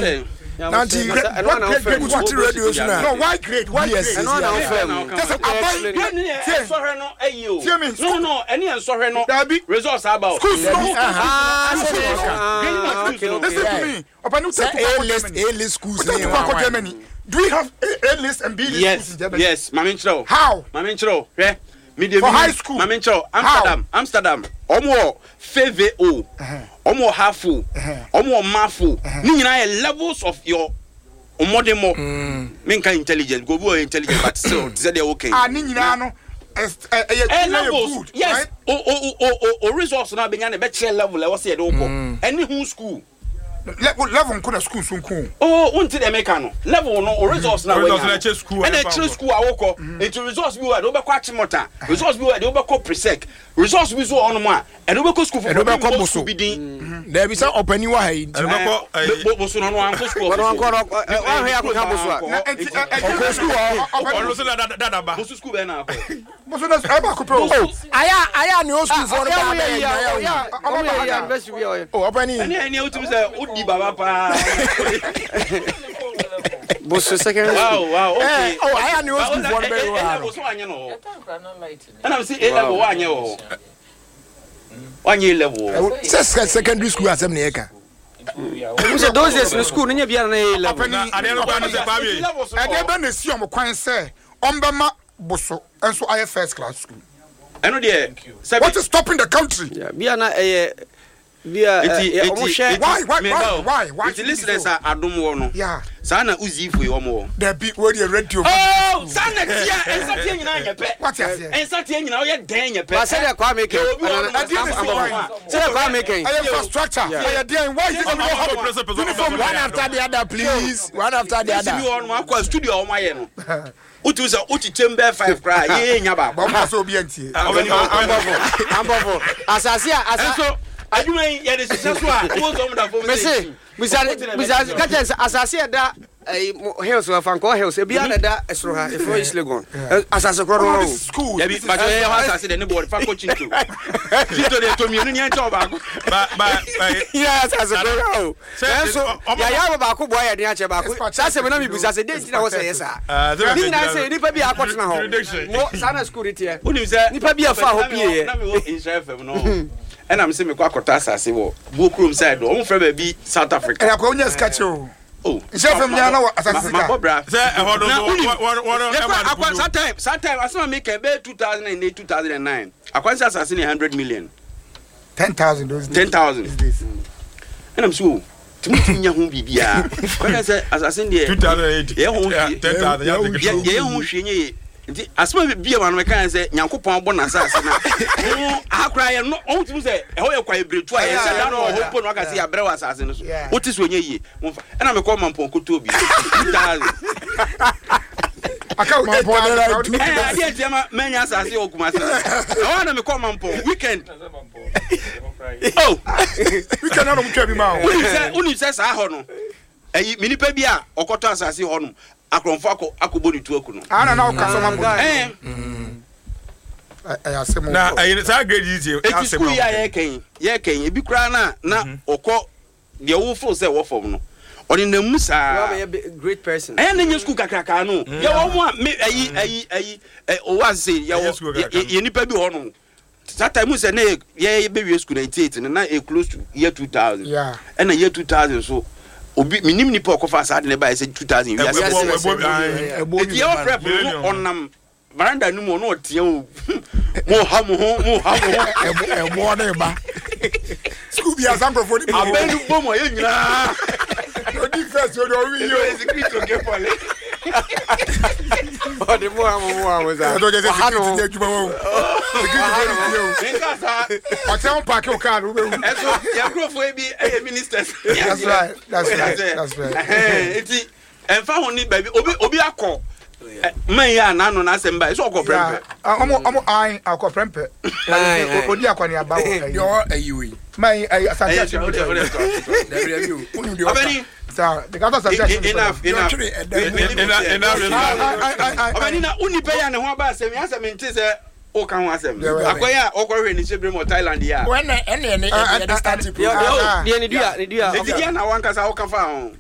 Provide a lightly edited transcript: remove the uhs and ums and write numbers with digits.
Nanti what grade grade what radio so na. No why grade why grade. Ɛno na wofɛ mu. Kyɛ sɛ aban Grade ni yɛ nsɔhwɛ no ayi o. Tie me. No no ɛni yɛ nsɔhwɛ no. Dabi. Results aba o. Schools no. Ah, Schools sɛ no. ah, okay, okay. Listen to me. Ɔpɛ ni Sɛ wotɛ A list A list schools Wotɛ ne tukɔ akɔ Germany. Do we have A list and B list Yes schools in Germany? yes maame nkyerɛ o. How? Maame nkyerɛ o hwɛ. Mi de For mi high school. Maame nkyerɛ o Amsterdam Amsterdam ɔmo wɔ FVO ɔmo wɔ HAFO ɔmo wɔ MAFO ne nyinaa yɛ levels of your mmɔdemmɔ. Mi nka intelligence because obi wɔ intelligent but still te sɛ deɛ o kɛn. Ah, ne nyinaa no ɛyɛ ɛ ɛyɛ levels good. yes right? o o o o o results na abenya na ɛbɛkyerɛ level ɛwɔ sɛ yɛde wo kɔ ɛne ho school. Level nko na school so nko. Oh, wonti deɛ meka no level no o results na Results wanya na ɛkyɛ school a ɛna ɛfa ɛkyerɛ wokɔ. school a wokɔ nti results bi wɔ a ɛde wobɛkɔ Achimota results bi wɔ a ɛde wobɛkɔ Presec results bi so wɔ hɔnom a ɛde wobɛkɔ school Ɛde foforɔ wobɛkɔ bi mbɔ Boso. school bi din Dabi sɛ ɔpanin wɔ ha yi. Ɛde bɛkɔ ɛyi. Boso no ɔno ankɔ school Ɔno ɔfo ankɔ no, wahwɛ akɔka Boso a. Na nti ɛ ɛ Ɔkɔ school hɔ. Ɔno nso na dada ba. Boso school bɛn na akɔ Boso na ɛyɛ baako pɛ o. Oh, aya aya ne o school fɔ no ba bɛyɛ adwuma yɛ o. Ɔmo yɛ yɛ university bi a ɔyɛ. Oh, ɔpanin. ɛne ɛne wotumi sɛ wodi baba paa Boso secondary school. wow wow okay Eh, oh, aya ne o school fɔ no bɛyɛ wɔ ha no. level so wanyɛ no hɔ ɛna msi A level wanyɛ wɔ hɔ wanyɛ A level wɔ hɔ Sɛ secondary school asɛm na yɛka. Mo sɛ those days no school no nyɛ biara na yɛ level. Ɔpanin Adeɛ no kwan no sɛ Kwame. Levels no wɔ ɛdeɛ hɔ. bɛ na esi ɔmo kwan sɛ ɔmbɛma Boso nso ayɛ first class school. ɛno deɛ sɛbi What is stopping the country? Yeah, bia na ɛyɛ bia nti ɛ ɔmo nti hwɛ. Why, why, meba why, o. why, why nti should it be listeners so? a adom wɔ no Yeah. saa na uzifo yi wɔn wɔ. Dabi wo deɛ radio. oh saa na tia nsateɛ nyinaa nyɛ pɛ Wate aseɛ. nsateɛ nyinaa ɔyɛ dɛn nyɛ pɛ. Ba sɛdeɛ Kwame kɛ. Yɛ obi wɔ hɔ nom a- Ɛdeɛ na esi kwan. Sɛdeɛ Kwame kɛ. Ɛyɛ infrastructure. Ɛyɛ deɛn? Why is it that we don't have uniform? One after the other please. One after the Sisi bi other. wɔ hɔ nom akɔ studio a wɔn ayɛ no wotu sɛ wokyekyɛ mu bɛɛ five koraa yɛyɛ nya baako. Bɔn mo sɛ obi antie. Ambɔfo ambɔfo asase a asa. Nso adwuma yi yɛde hyehyɛ so a wo sɛ ɔmo da fam sɛ Mese bisa bisa kakyɛ sɛ asase a ɛda ɛyi mo hills wɔ Fankɔ hills ebi a na ɛda ɛsoro ha efiri East Legon asase korɔ no Oh, o. this is school. Dabi This is bàtɛ yɛ hɔ asase dɛ ne bɔɔl fa kɔ Chinto Chinto deɛ tɔ mmienu ni ɛnkyɛn ɔbaako. Ba ba ɛyi. Yɛ asase korɔ no o. Sɛ- Ɛnso ɔmo- yɛayɛ ama baako boa yɛ den akyɛ baako saa sɛ mi na mi bisa sɛ den ti na wɔ sɛ yɛ saa. Ah, sɛ Ne bɛ- nyinaa sɛ nipa bi a akɔtena hɔ. Jurisdiction. Mo saa na school ni teɛ. Wonim sɛ Nipa bi a fa hɔ pie yɛ. Na mi wɔ Nhyira FM no ɛna mi sɛ mi kɔ akɔtɔ asase wɔ Buo kurom side do ɔmo fɛ baabi South Africa. Ɛyɛ akɔ onye sika kyɛ o. Oh. Nhyira FM nyinaa na wɔ asase sika. Ma bɔ bra. Sɛ ɛhɔ no Na so wonim- wɔn wɔn Yɛkɔ ɛma no akwa kudu. saa time asɛm a meka bɛyɛ 2008 2009 akwan sɛ asase ne 100 million 10,000 those days. 10,000. These days. Ɛnam sɛ o tumi tumi nya ho biribiaa kɔka sɛ asase no deɛ 2008. yɛyɛ ho Yeah, hwee 10,000. Yeah, take it. yɛyɛ ho hwee nyɛ ye nti asɛm a bia ma no mɛka sɛ Nyankopɔn abɔ n'asase no a wo aha koraa yɛ no ɔho tumi sɛ ɛhɔ yɛ kwae beretu a yɛnhyɛ da no wɔ hɔ mpo no waka sɛ yɛabrɛ wɔ asase no so wote so ɔnyɛ yie momfa ɛna mekɔ Mampɔn kɔtɔɔ bi 2000. Aka o 8,000. Ɛɛ adeɛ ntia ma mɛnya asase wɔ Kumase ɛhɔ na mekɔ Mampɔn weekend oh Weekend na ɔmo twa bi ma o. wonim sɛ saa hɔ no ɛyi me nipa bi a ɔkɔtɔ asase hɔ no akorɔmfo akɔ akɔbɔ ne tu aku no. Ah na na ɔka sɛ ɔma bɔ. Ɛɛ Ɛyɛ asɛm o. Na ɛyi saa grade yi ti. Eti school yi a yɛkɛn ebi koraa na ɔkɔ deɛ wofo sɛ ɛwɔ fam no ɔne nam mu saa. Wa bɛyɛ great person. Ɛyɛ ne nye school kakraka no yɛwɔ mo a me ɛyi ɛyi ɛyi ɛ owó ase Ɛnyɛ school yɛwɔ kakraka no. yɛ nipa bi wɔ hɔ nom saa time sɛ ne yɛ bɛ wie school 98 no na e close to year 2000. Ɛna year 2000 so obi minim nipa ɔkɔfa saa de ne ba yɛ sɛ 2000 wiase. Ɛbɔ ɛbɔ Ɛbɔ eti yɛwɔ prep no Millennium. ɔnam veranda no mu ɔno ɔteɛ o mo ha mo ho mo ha mo ho. Ɛbɔ ne ba. School bi asa nkurɔfoɔ ni bi wɔ. Abɛn no bɔ mu a yɛ nyinaa. Odi first o de ɔwi yi o. Security oke pɔle. Ɔde mo ha mo sa. Ɛdɔ kɛ sɛ Ɔha no security ho. nyɛ adwuma wɔ o. Security fo ni tie o. Nka saa. Ɔkyerɛ wo paaki o kaa no wobɛwu. Ɛso yɛ nkurɔfoɔ yi bi ɛyɛ ministers. That's right. That's right. That's right. Ɛhɛn, nti ɛnfa ho ni baabi obi akɔ man yi a n'ano n'asɛm ba ɛsɛ ɔkɔ prɛmpɛ. Ɔmo an akɔ prɛmpɛ. Aye, aye. Odi akɔneaba wɔ Deɛ ɛyi. ɔwɔ ɛyi wei. Man yi ɛyi Asante Ɛyɛ Akyem. ɔde ɔde ɔde. Dabi dabi o. Wonim deɛ ɔka. Ɔbɛni Saa de kata Asante Akyem. enough enough. Deɛ ɔtwere ɛdan mu. Enough, enough. Ayi ayi ayi. Ɔbɛni na wo nipa yi a ne ho aba asɛm yi asɛm nti sɛ ɔka ho asɛm. Yeah, right. Akɔyɛ a ɔkɔhwɛ ne hyɛ mu wɔ Thailand yi a. Wɔn na ɛna ɛne ɛde yɛde start Deɛ program. deɛ ne dua ne dua. Eti deɛ na wankasa ɔka fa ho.